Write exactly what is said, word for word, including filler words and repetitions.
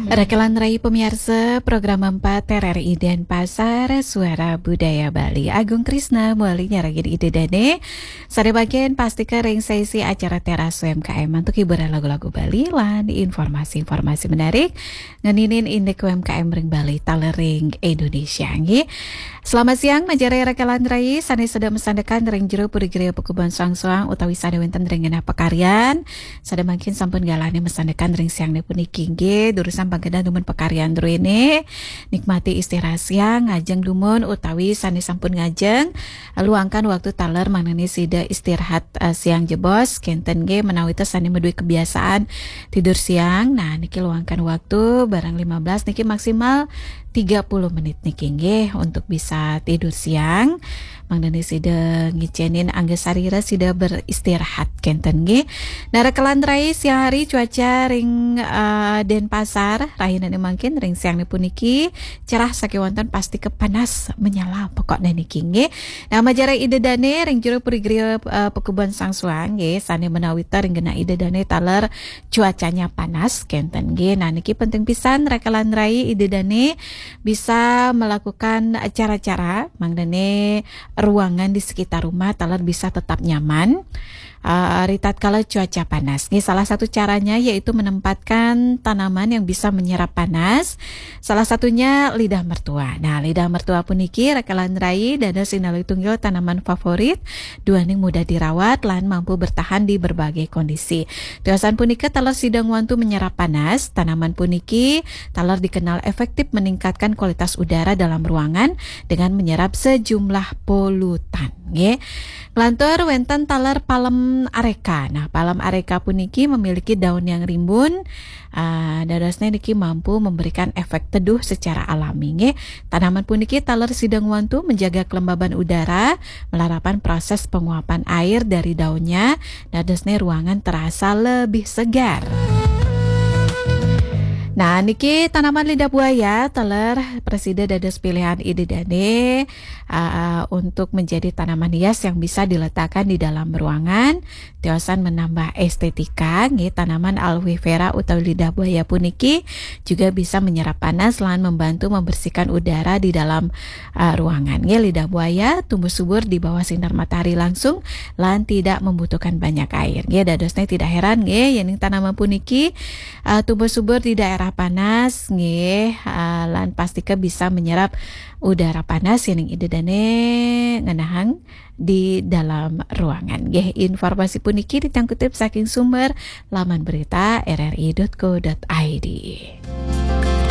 Rakelan rai pamiarsa, program empat R R I Denpasar, Suara Budaya Bali. Agung Krisna, muali nyarengin Ida Dane. Sane mangkin pastika ring sesi acara Teras U M K M antuk hiburan lagu-lagu Bali lan informasi-informasi menarik ngeninin indik U M K M ring Bali taler ring Indonesia, nggih. Selamat siang, majeng ring rakelan rai sane sedek masandekan ring jero puri griya pakubon soang-soang utawi sane wenten ring genah pakaryan. Sane mangkin sampun galahne masandekan ring siangne puniki, nggih, durusang panggenah dumun pakaryan druene. Nikmati istirahat siang, ngajeng dumun utawi sane sampun ngajeng, luangkan waktu taler mangdane sida istirahat, eh, siang jebos, kenten nggih, menawi te sane madue kebiasaan tidur siang. Nah, niki luangkan waktu barang lima belas niki maksimal tiga puluh menit niki nggih untuk bisa tidur siang. Mangdane sida ngicenin angga sarira sida beristirahat kenten nggih. Nah, rakelan rai siang hari cuaca ring, eh, Denpasar, rahinane mangkin ring siangne puniki cerah sakewanten pastika panas menyala pokokne niki nggih. Nah, majeng ring Ida Dane ring jero puri griya, eh, pakubon soang-soang nggih, sane menawi te ring genah Ida Dane taler cuacanya panas kenten nggih. Nah, niki penting pisan rakelan rai Ida Dane bisa melakukan cara-cara mangdane ruangan di sekitar rumah taler bisa tetap nyaman, eh, ritatkala cuaca panas. Nggih, salah satu caranya yaitu menempatkan tanaman yang bisa menyerap panas. Salah satunya lidah mertua. Nah, lidah mertua puniki rakelan rai dados inali tunggil tanaman favorit, duaning mudah dirawat lan mampu bertahan di berbagai kondisi. Tiosan punika taler sida ngwantu menyerap panas. Tanaman puniki taler dikenal efektif meningkatkan kualitas udara dalam ruangan dengan menyerap sejumlah polutan, nggih. Nglantur wenten taler palem areka. Nah, palem areka puniki memiliki daun yang rimbun, ah, dadosne niki mampu memberikan efek teduh secara alami, nggih. Tanaman puniki taler sida ngwantu menjaga kelembaban udara, melarapan proses penguapan air dari daunnya, dadosne ruangan terasa lebih segar. Nah, niki tanaman lidah buaya taler prasida dados pilihan Ida Dane, uh, untuk menjadi tanaman hias yang bisa diletakkan di dalam ruangan. Tiosan menambah estetika, nggih, tanaman aloe vera utawi lidah buaya puniki juga bisa menyerap panas lan membantu membersihkan udara di dalam, uh, ruangan. Nggih, lidah buaya tumbuh subur di bawah sinar matahari langsung lan tidak membutuhkan banyak air. Nggih, dadosne tidak heran nggih yening tanaman puniki, uh, tumbuh subur di daerah panas nggih, uh, lan pastika bisa menyerap udara panas yening Ida Dane ngenahang di dalam ruangan. Nggih, informasi puniki titiang kutip saking sumber laman berita R R I dot co dot I D.